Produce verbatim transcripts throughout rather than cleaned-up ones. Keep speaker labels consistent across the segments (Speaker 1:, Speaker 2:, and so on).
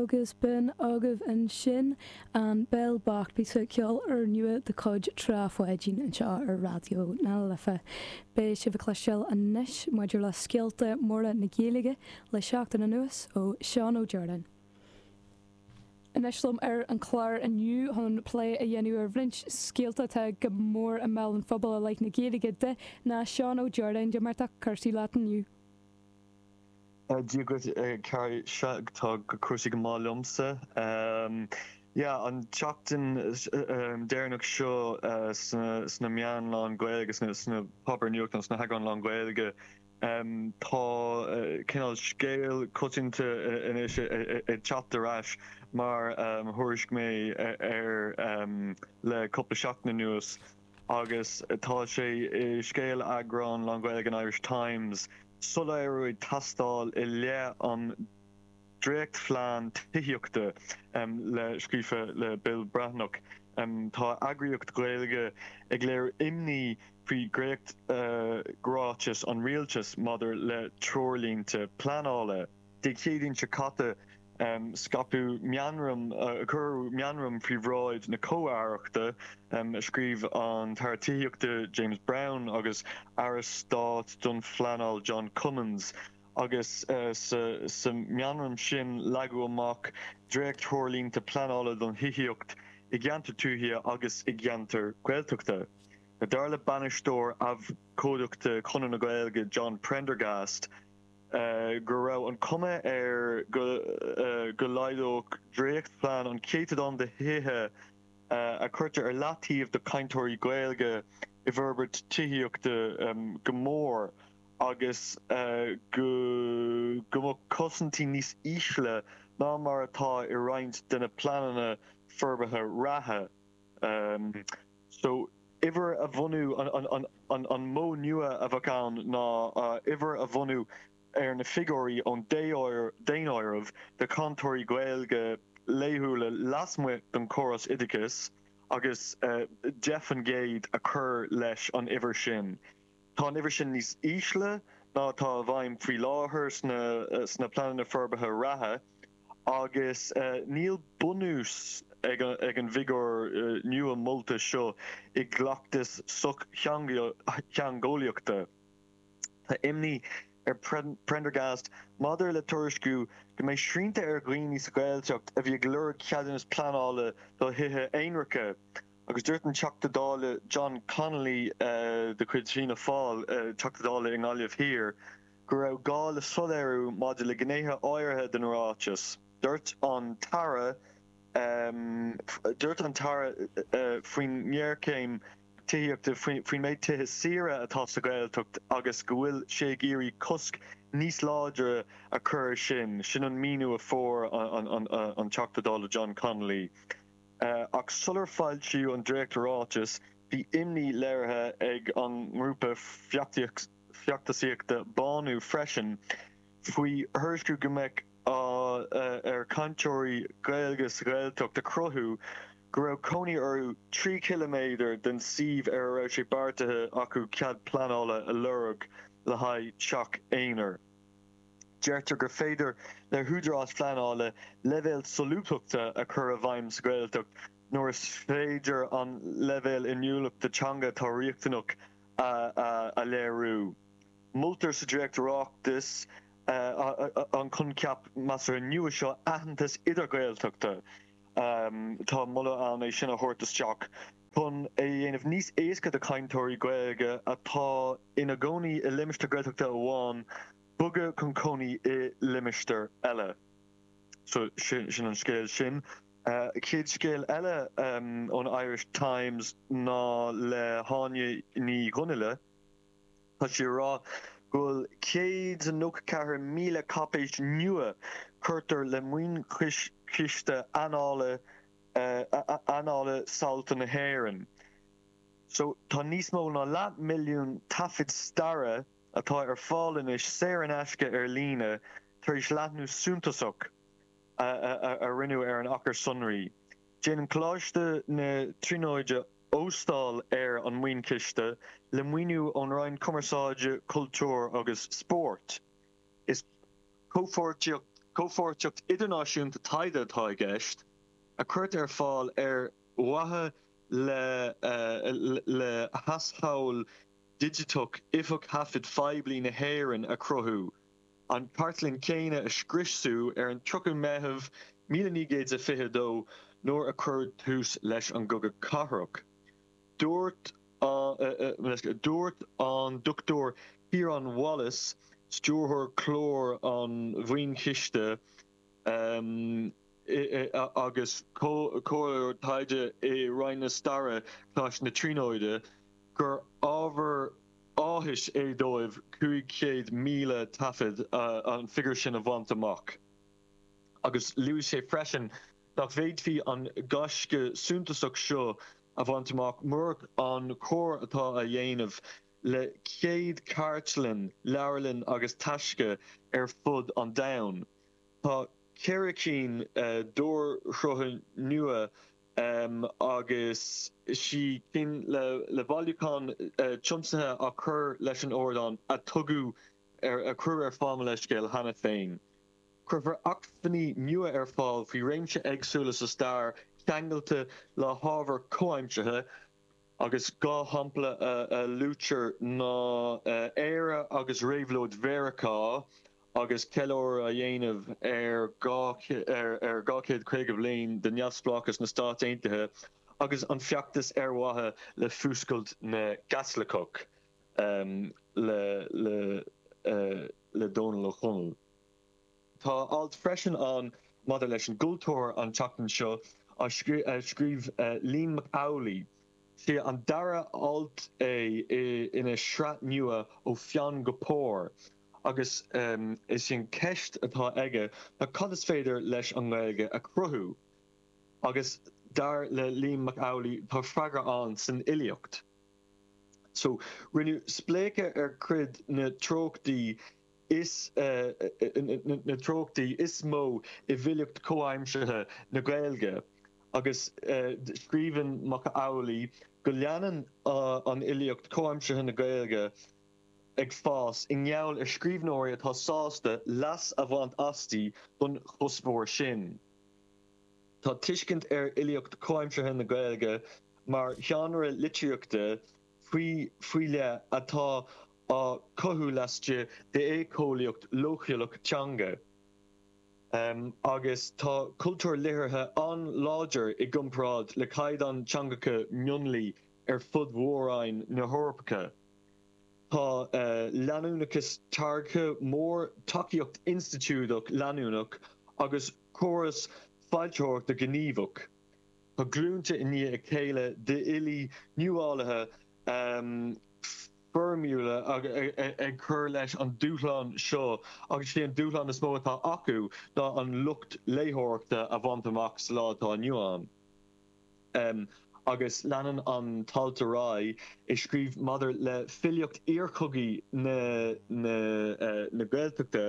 Speaker 1: Agus b'in agaibh ansin an Béal Bocht píosa ceoil úrnua de chuid Trá Pháidín anseo ar Raidió na Life. Beidh sibh ag cloisteáil anois maidir le scéalta móra na Gaeilge le seachtain anuas ó Seán Ó Direáin. Anois liom ar an chlár inniu chun plé a dhéanamh ar roinnt scéalta atá go mór i mbéal an phobail i leith na Gaeilge de ná Seán Ó Direáin cad é mar atá cúrsaí leat inniu.
Speaker 2: Dia duit tá cúrsaí go maith liomsa. Yeah, an tseachtain deireanach seo sna meáin lán-Ghaeilge sna páipéir nuachta sna heagráin lán-Ghaeilge tá cineál scéal coitianta anois ag teacht ar ais mar thuairisc mé ar le cúpla seachtain anuas agus tá sé i scéal eagrán lán-Ghaeilge an Irish Times soiléiriú ag teastáil i leith an dréachtphlean tithíochta le scríofa le Bill Breathnach. Tá eagraíocht Ghaeilge ag léiriú imní faoi dhréacht-ráiteas an rialtais maidir le treoirlínte pleanála. Dé Céadaoin seo caite scaipeadh meamram cuireadh meamram faoi bhráid na comh-aireachta a scríobh an tAire Tithíochta James Browne agus Aire Stáit don Phleanáil John Cummins agus sa meamram sin leagadh amach dréacht-threoirlínte pleanála don thithíocht i gceantar tuaithe agus i gceantar Gaeltachta. Dar le bainisteoir abhcóideachta Chonradh na Gaeilge John Prendergast go raibh an chuma air go go laghdódh dréachtphlean an céatadán de thithe a chuirtear ar leataobh do chainteoirí Gaeilge i bhforbairt tithíochta go mór agus go go mbeadh cosaintí níos ísle ná mar atá i roinnt de na pleananna forbartha reatha. So uimhir a bhunú an an modh nua a bheadh ann ná uimhir a bhunú ar na figiúirí ón daonáireamh de chainteoirí Gaeilge laethúla lasmuigh den chóras oideachais agus deich faoin gcéad a chur leis an uimhir sin. Tá an uimhir sin níos ísle ná atá i bhfeidhm faoi láthair sna sna pleananna forbartha reatha agus níl bunús ag an bhfigiúr nua molta seo i gcleachtas sochtheangeolaíochta. Tá imní ar Prendergast maidir le tuairisciú go mbeidh srianta ar dhaoine sa Ghaeltacht a bhí ag lorg ceadúnas pleanála do thithe aonaracha agus dúirt an Teachta Dála John Connolly de chuid Fianna Fáil, Teachta Dála i nGaillimh Thiar, go raibh gá le soiléiriú maidir le gnéithe áirithe den ráiteas. Dúirt an tAire Dúirt an tAire faoin ngéarchéim tithíochta faoin méid tithe saora atá sa Ghaeltacht agus go bhfuil sé ag iarraidh cosc níos láidre a chur sin, sin an míniú a fuair an Teachta Dála John Connolly. Ach sular foilsíodh an dréacht-ráiteas, bhí imní léirithe ag an ngrúpa feachtasaíochta Bánú freisin faoi thuairisciú go mbeadh ar chainteoirí Gaeilge sa Ghaeltacht a chruthú go raibh cónaí orthu trí chiliméadar den suíomh ar a raibh sé beartaithe acu cead pleanála a lorg le haghaidh teach aonair. Deirtear gur féidir le húdaráis phleanála leibhéal solúbthachta a chur i bhfeidhm sa Ghaeltacht nuair is féidir an leibhéal inniúlachta teanga atá riachtanach a léiriú. Moltar sa dréacht-ráiteas an coincheap measartha nua seo aitheantas idirGhaeltachta. Tá moladh ann é sin a thabhairt isteach chun é a dhéanamh níos éasca do chainteoirí Gaeilge atá ina gcónaí i limistéar Gaeltachta amháin bogadh chun cónaí i limistéar eile. So sin an scéal sin. Chéad scéal eile ón Irish Times ná le hÁine Ní Dhonnaile. Tá sí ag rá go bhfuil céad nócha ceathair míle cáipéis nua cuirtear le maoinchiste annála annála samhalta na hÉireann. So tá níos mó ná leath milliún taifead staire atá ar fáil anois saor in aisce ar líne tar éis leathnú suntasach a rinneadh ar an achar sonraí. Déanann Coláiste na Tríonóide óstáil ar an maoinchiste le maoiniú ón Roinn Cumarsáide, Cultúir agus Spóirt. Is comhpháirtíocht Comhpháirtíocht idirnáisiúnta taighde atá i gceist, a cuirtear ar fáil ar mhaithe le le haisghabháil digiteach Oifig Thaifid Phoiblí na hÉireann a chruthú, an chartlann chéanna a scriosadh ar an tríocha Meitheamh míle naoi gcéad is fiche a dó nuair a cuireadh tús leis an gCogadh Cathartha. Dúirt Dúirt an Dochtúir Ciarán Wallace, Stiúrthóir Clár an Mhaoinchiste agus Comhairleoir Taighde i Roinn na Staire, Coláiste na Tríonóide, gur ábhar áthais é dóibh cúig chéad míle taifead an figiúr sin a bhaint amach. Agus luaigh sé freisin nach bhféadfaí an gaisce suntasach seo a bhaint amach murach an comhar atá á dhéanamh le céad cartlann, leabharlann agus taisce ar fud an domhain. Tá ceithre cinn d'úrshrutha nua agus sé cinn le bailiúchán tiomsaithe á chur leis an ardán a tugadh a cuireadh ar fáil mo leithscéal cheana féin. Cuirfear acmhainní nua ar fáil faoi réimse éagsúla sa stair ceangailte le hábhar comhaimseartha agus dhá shampla a luaitear ná Éire agus Réabhlóid Mheiriceá agus ceiliúradh a dhéanamh ar ar dhá chéad caoga bliain de neamhspleáchas na Stát Aontaithe agus an feachtas ar mhaithe le fuascailt na gCaitliceach le le le Dónall Ó Conaill. Tá alt freisin ann maidir leis an gcultúr an tseachtain seo á scríobh Liam Mac Amhlaigh. Sé an dara alt é ina shraith nua Ó Pheann go Pár agus is í an cheist atá aige ná cad is féidir leis an nGaeilge a chruthú? Agus dar le Liam Mac Amhlaigh tá freagra ann san fhilíocht. So rinneadh spléachadh ar chuid na treochtaí is na treochtaí is mó i bhfilíocht chomhaimseartha na Gaeilge agus scríobhann Mac Amhlaigh go leanann an fhilíocht chomhaimseartha na Gaeilge ag fás i ngeall ar scríbhneoirí atá sásta leas a bhaint asti don chuspóir sin. Tá tuiscint ar fhilíocht chomhaimseartha na Gaeilge mar sheánra litríochta faoi faoi leith atá á cothú laistigh d'éiceolaíocht leochaileach teanga. Agus tá cultúr liteartha an-láidir i gcomparáid le caighdeán teangacha mionlaigh ar fud mhór-roinn na hEorpa. Tá leanúnachas táirgthe mór, tacaíocht institiúideach leanúnach agus córas foilsitheoireachta gníomhach. Tá glúnta i ndiaidh a chéile d'fhilí nuálaithe foirmiúla ag cur leis an dúshlán seo agus sé an dúshlán is mó atá acu ná an lucht léitheoireachta a bhaint amach sa lá atá inniu ann. Agus leanann an t-alt ar aghaidh ag scríobh maidir le filíocht iarchogaidh na na Gaeltachta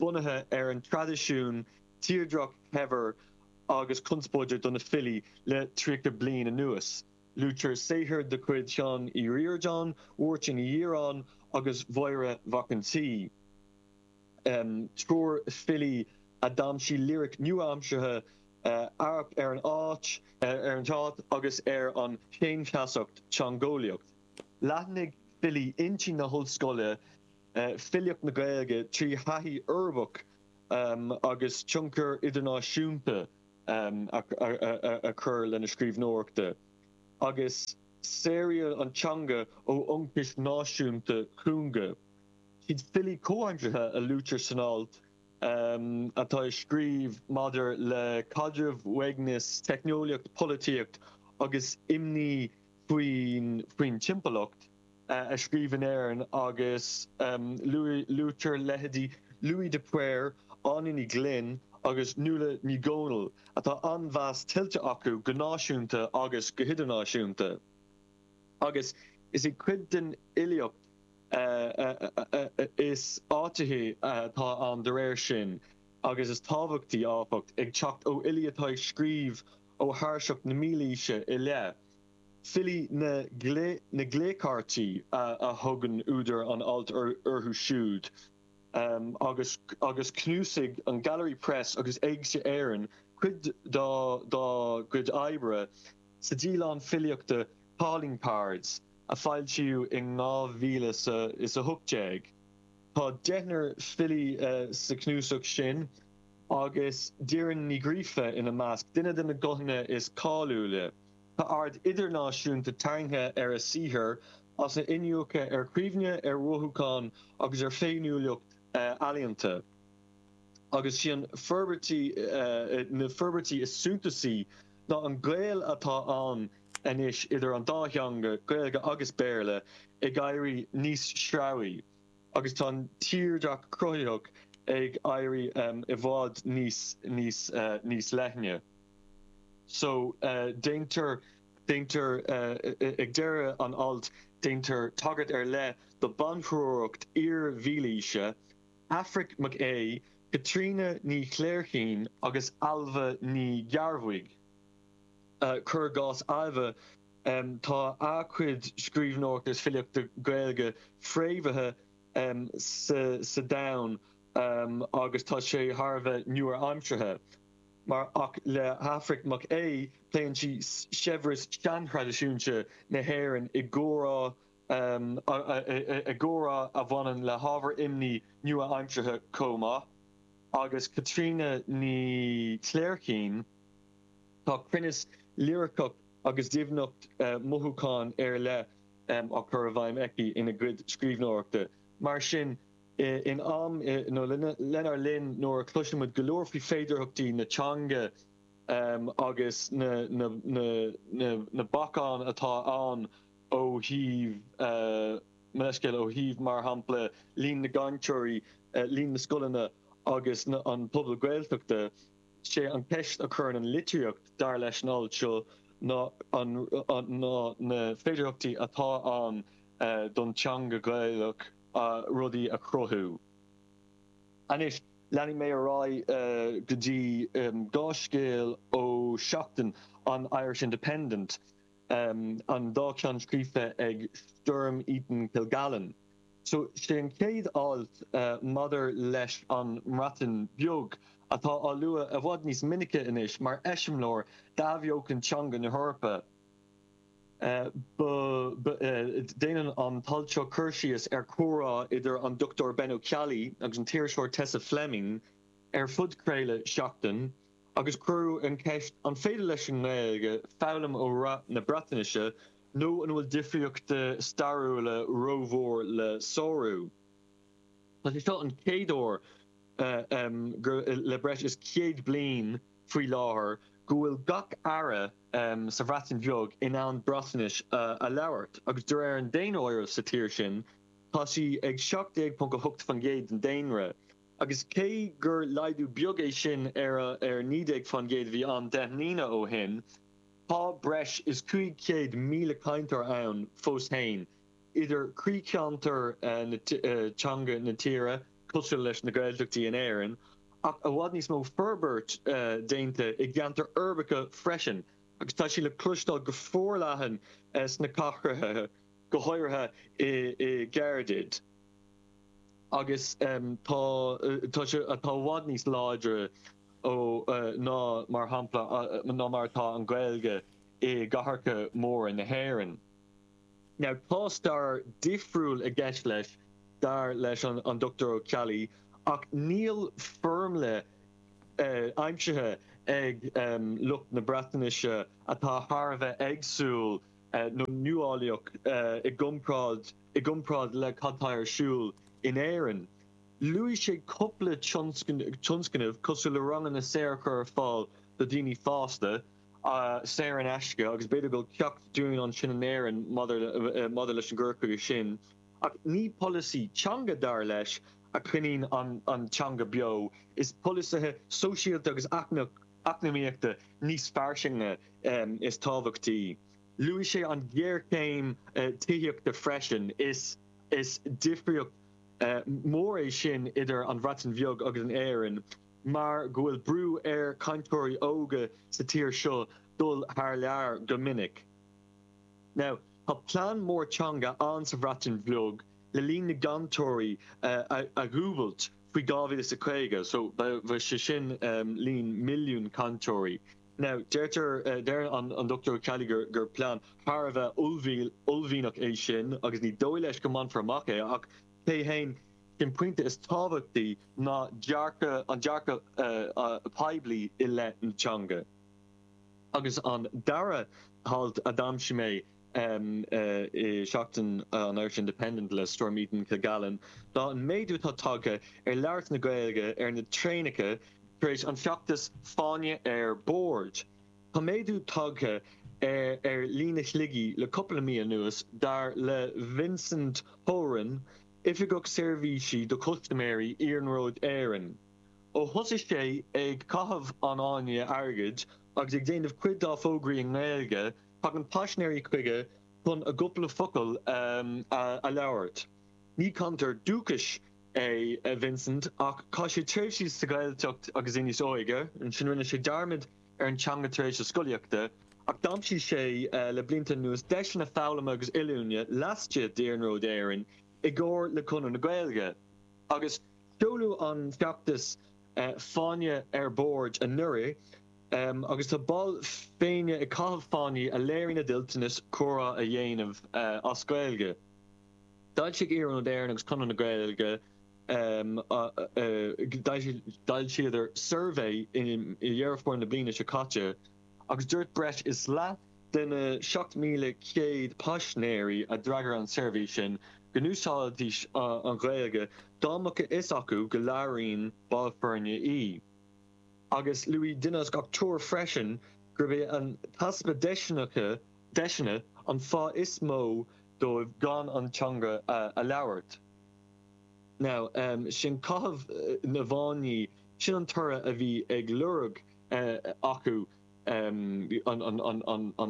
Speaker 2: bunaithe ar an traidisiún tírdhreach shaibhir agus conspóideach do na filí le tríocha bliain anuas. Luaitear saothair de chuid Sheáin Uí Ríordáin, Mháirtín Uí Dhireáin agus Mháire Mhac an tSaoi, triúr filí a d'aimsigh liric nua-aimseartha, amharc ar an áit, ar an stát agus ar an bhféinfheasacht teangeolaíoch. Leathnaigh filí intí na hollscoile filíocht na Gaeilge trí thaithí uirbeach agus tionchar idirnáisiúnta a chur lena scríbhneoireachta, agus saoradh an teanga ó ionchais náisiúnta cúnga. Siad filí comhaimseartha a luaitear san alt atá ag scríobh maidir le caidreamh, uaigneas, teicneolaíocht, polaitíocht agus imní faoin timpeallacht a scríobh in Éirinn agus luaitear leithéidí Louis de Paor, Áine Ní Ghlinn agus Nuala Ní Dhomhnaill atá an-mheas tuillte acu go náisiúnta agus go hidirnáisiúnta. Agus is í cuid den fhilíocht is áitithí atá ann de réir sin agus is tábhachtaí, áfach, ag teacht ó fhilí atá ag scríobh ó thairseach na mílaoise i leith. Filí na na gclécártaí a thugann údar an ailt orthu siúd. um, agus agus cnuasaigh an Gallery Press agus Éigse Éireann cuid dá dá gcuid oibre sa díolachán filíochta Calling Cards a foilsíodh in dhá mhíle is a hocht déag. Tá deichniúr filí uh, sa cnuasach sin agus Doireann Ní Ghríofa ina measc duine de na guthanna is cáiliúla. Tá aird idirnáisiúnta tarraingthe ar a saothar as a iniúchadh ar chuimhne ar mhothúcháin agus ar féiniúlacht uh, ealaíonta. Agus sin forbairtí uh, na forbairtí is suntasaí ná an gaol atá ann anois idir an dá theanga Gaeilge agus Béarla ag éirí níos sreabhaí, agus tá tírdhreach cruthaitheach ag éirí um, i bhfad níos níos uh, níos leithne. So uh, déantar déantar uh, ag deireadh an alt déantar tagairt ar leith do banchuriarracht iar-mhílaoise, Aifric Mac Aodha, Caitríona Ní Chléirchín agus Ailbhe Ní Ghearbhuigh. Uh, cuir i gcás Ailbhe um, tá a cuid scríbhneoireachta is filíochta Gaeilge fréamhaithe um, sa, sa domhan um, agus tá sé thar a bheith nua-aimseartha. Mar ach le hAifric Mac Aodha pléann sí saibhreas seantraidisiúnta na hÉireann i gcomhrá um, i gcomhrá a bhaineann le hábhar imní nua-aimseartha chomh maith. Agus Caitríona Ní Chléirchín tá cruinneas liriceach agus doimhneacht uh, mothúchán ar leith um, á chur i bhfeidhm aici ina cuid scríbhneoireachta. Mar sin in am nó lenár linn nuair a chloisimid go leor faoi féidearthachtaí na teanga um, agus na, na, na, na, na bacáin atá ann ó thaobh uh, leiscéil ó thaobh mar shampla líon na gcainteoirí uh, líon na scoileanna agus na, an pobal Gaeltachta sé an ceist a chuireann an litríocht dar leis an alt seo ná an, an, ná na féidearthachtaí atá ann uh, don teanga Gaelach uh, rudaí a chruthú. Anois leanfaidh mé ar aghaidh uh, go dtí um, dhá scéal ó seachtain an Irish Independent um, an dá cheann scríofa ag Storm Eaton Kilgallen. So sé an chéad alt uh, maidir leis an mBreatain Bheag atá á lua i bhfad níos minice anois mar eiseamláir d'athbheochan teanga na hEorpa. Uh, uh, déanann an t-alt seo cur síos ar chomhrá idir an Dr Ben Ó Ceallaigh agus an t-iriseoir Tessa Fleming ar phodchraoladh Seachtain, agus cuireadh an ceist an féidir leis an nGaeilge foghlaim ó rath na Breatnaise nó an bhfuil difríochtaí stairiúla rómhór le sárú. Tá sé seo an chéad uair uh, um, le breis is céad bliain faoi láthair go bhfuil gach aire um, sa Bhreatain Bheag in ann Breatnais uh, a labhairt, agus de réir an daonáirimh sa tír sin, tá sí ag seacht déag ponc a hocht faoin gcéad den daonra. Agus cé gur laghdú beag é sin ar ar naoi déag faoin gcéad a bhí ann deich mbliana ó shin, tá breis is cúig chéad míle cainteoir ann fós féin, idir croícheantair uh, na uh, teanga na tíre, cosúil leis na Gaeltachtaí in Éirinn, ach i bhfad níos mó forbairt uh, déanta i gceantair uirbeacha freisin, agus tá sí le cloisteáil go forleathan uh, sna cathracha go háirithe i, i gCaerdydd. Agus um, tá tá sé atá i bhfad níos láidre ó uh, ná mar shampla uh, ná mar atá an Ghaeilge i gcathracha móra na hÉireann. Now tá stair difriúil i gceist leis dar leis an, an Dr Ó Ceallaigh ach níl foirmle uh, aimsithe ag um, lucht na Breatnaise atá thar a bheith éagsúil uh, nó nuálaíoch uh, i gcomparáid i gcomparáid le cad atá ar siúl in Éirinn. Luaigh sé cúpla tionscnamh cosúil le ranganna saor a chur ar fáil do daoine fásta uh, saor in aisce agus b'fhéidir go bhfuil ceacht dúinn ansin in Éirinn maidir leis an gcur chuige sin. Ach ní polasaí teanga dar leis a choinníonn an, an teanga beo is polasaithe sóisialta agus eacnamaíochta níos fairsinge um, is tábhachtaí. Luaigh sé an ghéarchéim uh, tithíochta freisin is is difríocht uh, mór é sin idir an Bhreatain Bheag agus an Éirinn, mar go bhfuil brú ar cainteoirí óga sa tír seo dul thar lear go minic. Now, tá plean mór teanga ann sa Bhreatain Bheag le líon na gcainteoirí a dhúbailt faoi dhá mhíle is a caoga, so bheadh sé sin líon milliún cainteoirí. Now, deirtear, deir an Dochtúir Ó Ceallaigh gur gur plean thar a bheith uaillmhianach é sin agus ní dóigh leis go mbainfear amach é ach cé féin, an pointe is tábhachtaí ná dearcadh, an dearcadh poiblí i leith na teanga. Agus an dara halt a d'aimsigh mé i Seachtain an Irish Independent le Storm Eaton Kilgallen ná an méadú atá tagtha ar labhairt na Gaeilge ar na traenacha tar éis an feachtas Fáinne ar Bord. Tá méadú tagtha ar líon na gcluichí le cúpla mí anuas, dar le Vincent Horan, Oifigeach Seirbhísí do Chustaiméirí Iarnród Éireann. Ó thosaigh sé ag caitheamh an fháinne airgid agus ag déanamh cuid dá fógraí i nGaeilge, tagann paisinéirí chuige chun a gcúpla focal a labhairt. Ní cainteoir dúchais é Vincent ach chaith sé tréimhsí sa Ghaeltacht agus é níos óige. Ansin rinne sé dearmad ar an teanga tar éis a scolaíochta ach d'aimsigh sé le blianta anuas deiseanna foghlama agus oiliúna laistigh d'Iarnród Éireann i gcomhar le Conradh na Gaeilge. Agus seoladh an feachtas Fáinne ar Bord anuraidh agus tá baill foirne ag caitheamh fáinní a léiríonn a dtoilteanas comhrá a dhéanamh as Gaeilge. D'fhoilsigh Iarnród Éireann agus Conradh na Gaeilge d'fhoilsíodar suirbhé i Dheireadh Fómhair na bliana seo caite agus dúirt breis is leath de na seacht míle céad paisinéirí a d'fhreagair an suirbhé sin go n-úsáidfidís an Ghaeilge dá mbeadh a fhios acu go labhraíonn ball foirne í. Agus luaigh duine as gach triúr freisin gurb é an t-easpa deiseanna an fáth is mó dóibh gan an teanga a labhairt. Now, sin caitheamh na bhfáinní, sin an toradh a bhí ag lorg acu, an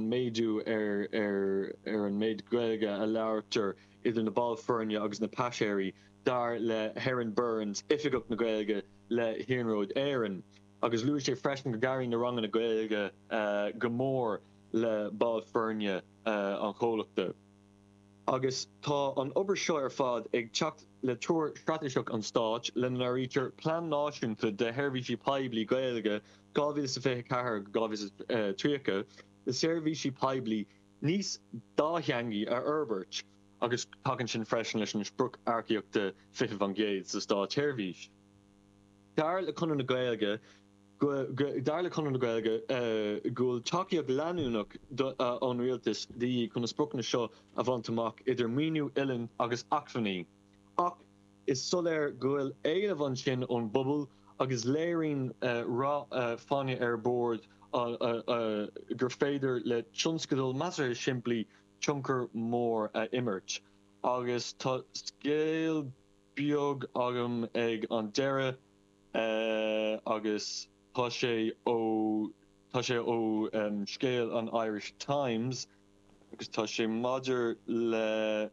Speaker 2: méadú ar an méid Gaeilge a labhartar idir na baill foirne agus na paisinéirí, dar le hErin Burns, Oifigeach na Gaeilge le hIarnród Éireann. Agus luaigh sé freisin go gcabhraíonn na ranganna Gaeilge go mór le baill foirne an chomhlachta. Agus tá an obair seo ar fad ag teacht le Treoir Straitéiseach an Stáit, lena n-áirítear Plean Náisiúnta de Sheirbhísí Poiblí Gaeilge dhá mhíle is fiche a ceathair go dhá mhíle is tríocha, le seirbhísí poiblí níos dátheangaí a fhorbairt, agus tagann sin freisin leis an sprioc earcaíochta fiche faoin gcéad sa Státsheirbhís. Dar le Conradh na Gaeilge, Dar le Conradh na Gaeilge go bhfuil tacaíocht leanúnach ón Rialtas de dhíth chun na spriocanna seo a bhaint amach, idir maoiniú, oiliúint agus acmhainní. Ach is soiléir go bhfuil éileamh ansin ón bpobal agus léiríonn rath Fáinne ar Bord gur féidir le tionscadal measartha simplí tionchar mór a imirt. Agus tá scéal beag agam ag an deireadh. Agus tá sé ó tá sé ó scéal an Irish Times agus tá sé maidir le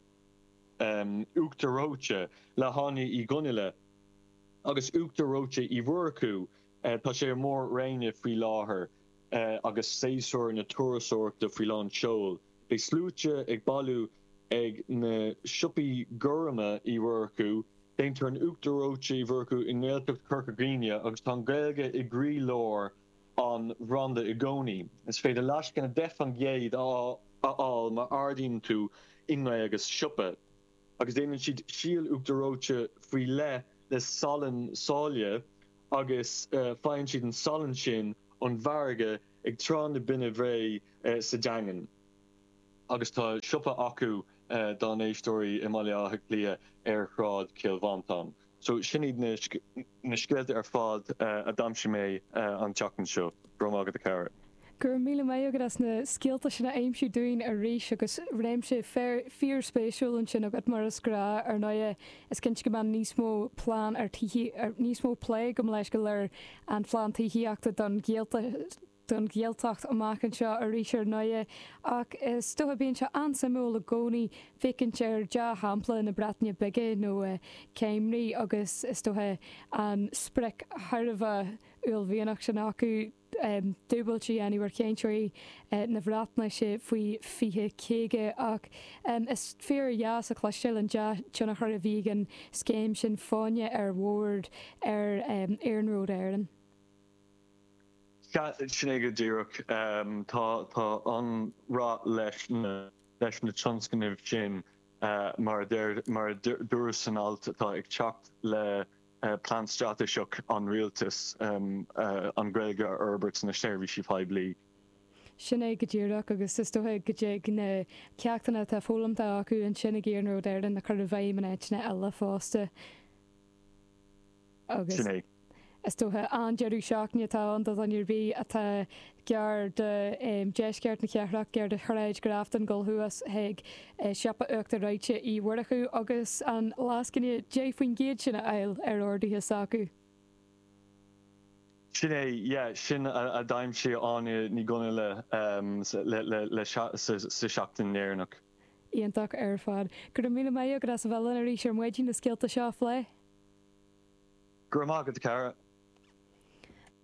Speaker 2: uachtar reoite le hÁine Uí Dhonnaile agus uachtar reoite Uí Mhurchú. Tá sé i mór-roinn faoi láthair agus séasúr na turasóireachta faoi lán seoil. Beidh sluaite ag bailiú ag na siopaí gorma Uí Mhurchú. Déantar an uachtar reoite Uí Mhurchú i nGaeltacht Chorca Dhuibhne agus tá an Ghaeilge i gcroí-lár an bhranda i gcónaí. Is féidir lascaine deich faoin gcéad a fháil má ordaíonn tú i nGaeilge sa siopa. Agus déanann siad síol uachtar reoite faoi leith le salann sáile agus faigheann siad an salann sin ón bhfarraige ag Trá na Binne Bhréi sa Daingean. Agus tá siopa acu dá n-éisteoirí i mBaile Átha Cliath ar Shráid Chill Mhantáin. So sin iad na scéalta ar fad a d'aimsigh mé an tseachtain seo. Go raibh maith agat a chara.
Speaker 1: Go raibh míle maith agat as na scéalta sin a aimsiú dúinn arís agus réimse fíorspéisiúil ansin agat mar is gnáth ar ndóigh is cinnte go mbeidh níos mó plean ar níos mó plé gabh mo leithscéal ar an phlean tithíochta don Ghaeltacht don Ghaeltacht amach anseo arís ar ndóigh, ach is dócha bíonn sé an-suimiúil i gcónaí féachaint ar dea-shampla na Breataine Bige nó Cymru agus is dócha an sprioc thar a bheith uaillmhianach sin acu dúbailt a dhéanamh ar chainteoirí na Breatnaise faoi fiche caoga ach is fíordheas a chloisteáil an dea-tionchar a bhí ag an scéim sin fáinne ar bhord ar Iarnród Éireann.
Speaker 2: Sin é go díreach tá tá an-rath leis na leis na tionscnaimh sin mar mar dúradh san alt atá ag teacht le plean straitéiseach an rialtais an Ghaeilge a fhorbairt sna seirbhísí poiblí.
Speaker 1: Sin é go díreach agus is dócha go dtig na ceachtanna atá foghlamtha acu ansin ag Iarnród Éireann a chur i bhfeidhm in áiteanna eile fosta. Agus
Speaker 2: Sin é.
Speaker 1: Is dócha an-deireadh seachtaine atá ann do dhuine ar bith atá gar do deisceart na cathrach, gar do Shráid Grafton dul thuas chuig siopa Uachtar Reoite Uí Mhurchú agus an lascaine deich faoin gcéad sin a fháil ar orduithe s'acu.
Speaker 2: Sin é, yeah, sin a d'aimsigh Áine Ní Dhonnaile le sa seachtain dheireanach.
Speaker 1: Iontach ar fad. Go raibh míle maith agat as a bheith linn arís ar maidin na scéalta seo a phlé.
Speaker 2: Go raibh maith agat, a chara.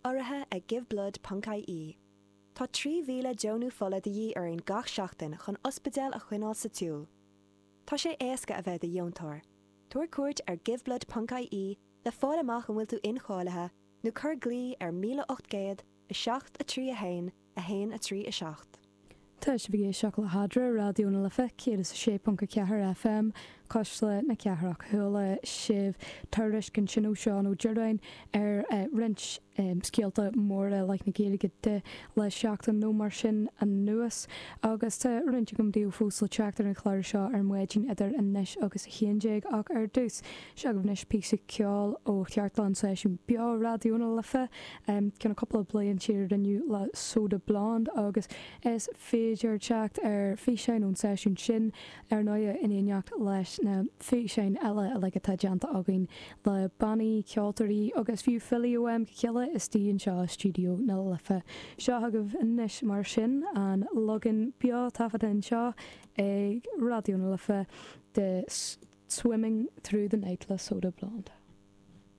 Speaker 3: Urraithe ag giveblood.ie. Tá trí mhíle deonú fola de dhíth orainn gach seachtain chun ospidéil a choinneáil sa tsiúl. Tá sé éasca a bheith i do dheontóir. Tabhair cuairt ar giveblood.ie le fáil amach an bhfuil tú incháilithe nó cuir glao ar míle ocht gcéad a seacht a trí a haon a haon a trí a seacht.
Speaker 1: Tá sibh ag éisteacht le hAdra, Raidió na Life céad is a sé ponc a ceathair FM, Cuisle na Cathrach. Chuala sibh tuairisc ansin ó Seán Ó Direáin ar roinnt scéalta móra i leith na Gaeilge de le seachtain nó mar sin anuas agus tá roinnt agam daoibh fós le teacht ar an chlár seo ar maidin idir anois agus a haon déag ach ar dtús seo agaibh anois píosa ceoil ó chartlann seisiún beo Raidió na Life ceann cúpla bliain siar a rinneadh le Soda Blonde agus is féidir teacht ar físeáin ón seisiún sin ar ndóigh in éineacht leis na físeáin eile uilig atá déanta againn le bannaí, ceoltóirí agus fiú filí ó am go chéile istigh anseo i stiúideo na Life. Seo agaibh anois mar sin an leagan beo taifeadta anseo ag Raidió na Life de Swimming Through the Night le Soda Blonde.